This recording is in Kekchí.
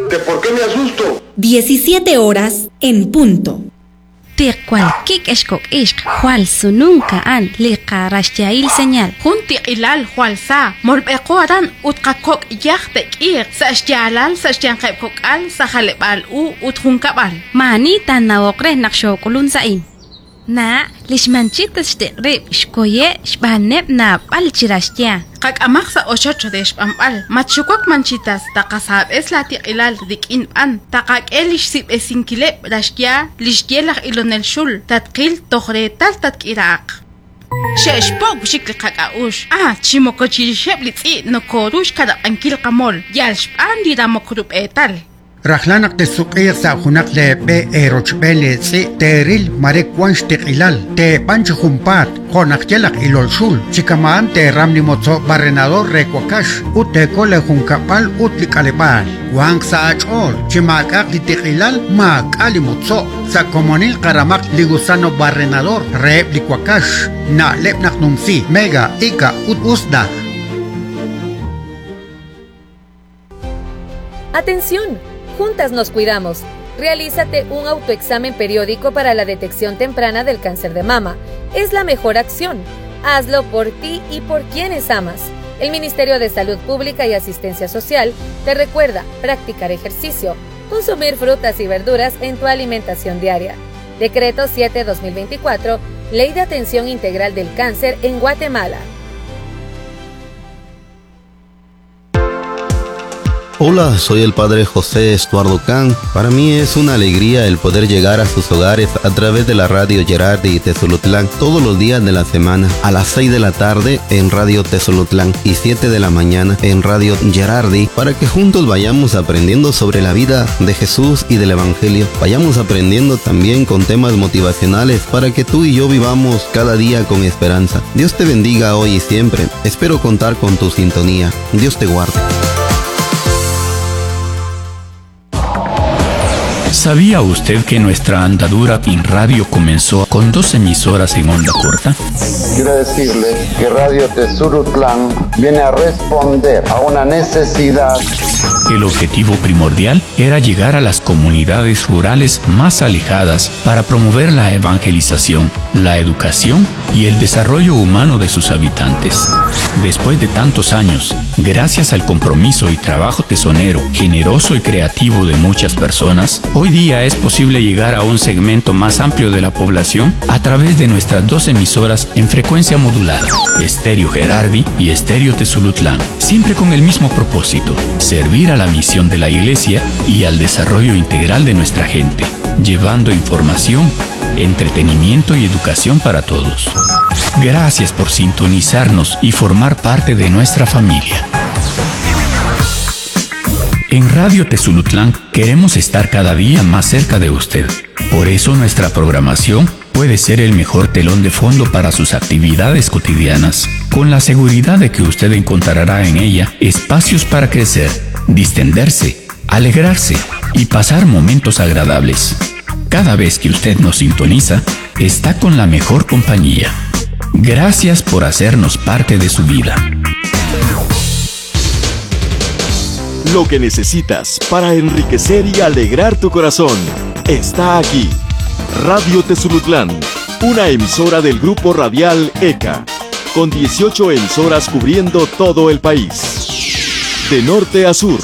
¿Que por qué me asusto? 17 horas en punto. Tiqwal kik' ex kok' ixq, jwal sununk a'an li qaraxyahil señal. Jun tiq'ilal jwal sa, molb'eqo aran ut qakok' yaj te'k'iiq sa' xyaalal sa' xyanqeb' kok'al sa' jaleb'aal u ut junkab'al. Maani taanawoq re naq xook'ulun sa'in. Na, lix Manchitas xtiq' rib' xkoye' xb'aaneb' naab'al chi raxya. Qak'amaq sa' ochoch re xb'anb'al. Matxuwak Manchitas, taqasaab'es la tiq'ilal rik'in b'an. Taqak'e li xsib'esinkileb' raxya li xye laj ilonel xul. Tatqil toj reetal tatk'iraaq. Xe'xpo' wixik li qak'a'uxl. Ah, chi moko chirixeb' li tz'i' nokooru xkanab'ankil qamol, yal xb'aan li ramok rub'eetal. Rajlal naq texsuk'iiq sa' junaq leeb'e eerochb'een leetz'i' teeril mare wank xtiq'ilal, teeb'an chi junpaat, jo' naq ye laj ilol xul, chi kama'an teeram li motzo' barrenador re wakax ut teekol leejunkab'al ut li k'aleb'aal. Wanq sa' aach'ool, chi maak'a'aq li tiq'ilal, maak'a' li motzo'. Sa' komonil qaramaq li gusano barrenador reheb' li wakax. Na'leb' naq numsi, Mega, Ica ut Usda. ¡Atención! Juntas nos cuidamos. Realízate un autoexamen periódico para la detección temprana del cáncer de mama. Es la mejor acción. Hazlo por ti y por quienes amas. El Ministerio de Salud Pública y Asistencia Social te recuerda practicar ejercicio, consumir frutas y verduras en tu alimentación diaria. Decreto 7-2024, Ley de Atención Integral del Cáncer en Guatemala. Hola, soy el padre José Estuardo Can. Para mí es una alegría el poder llegar a sus hogares a través de la radio Gerardi y Tezulutlán todos los días de la semana a las 6 de la tarde en Radio Tezulutlán y 7 de la mañana en Radio Gerardi para que juntos vayamos aprendiendo sobre la vida de Jesús y del Evangelio. Vayamos aprendiendo también con temas motivacionales para que tú y yo vivamos cada día con esperanza. Dios te bendiga hoy y siempre. Espero contar con tu sintonía. Dios te guarde. ¿Sabía usted que nuestra andadura en radio comenzó con dos emisoras en onda corta? Quiero decirle que Radio Tesurutlán viene a responder a una necesidad. El objetivo primordial era llegar a las comunidades rurales más alejadas para promover la evangelización, la educación y el desarrollo humano de sus habitantes. Después de tantos años, gracias al compromiso y trabajo tesonero, generoso y creativo de muchas personas, hoy día es posible llegar a un segmento más amplio de la población a través de nuestras dos emisoras en frecuencia modulada, Estéreo Gerardi y Estéreo Tezulutlán, siempre con el mismo propósito, servir a la misión de la Iglesia y al desarrollo integral de nuestra gente, llevando información, entretenimiento y educación para todos. Gracias por sintonizarnos y formar parte de nuestra familia. En Radio Tezulutlán queremos estar cada día más cerca de usted. Por eso nuestra programación puede ser el mejor telón de fondo para sus actividades cotidianas, con la seguridad de que usted encontrará en ella espacios para crecer, distenderse, alegrarse y pasar momentos agradables. Cada vez que usted nos sintoniza, está con la mejor compañía. Gracias por hacernos parte de su vida. Lo que necesitas para enriquecer y alegrar tu corazón está aquí. Radio Tezulutlán, una emisora del grupo radial ECA, con 18 emisoras cubriendo todo el país. De norte a sur.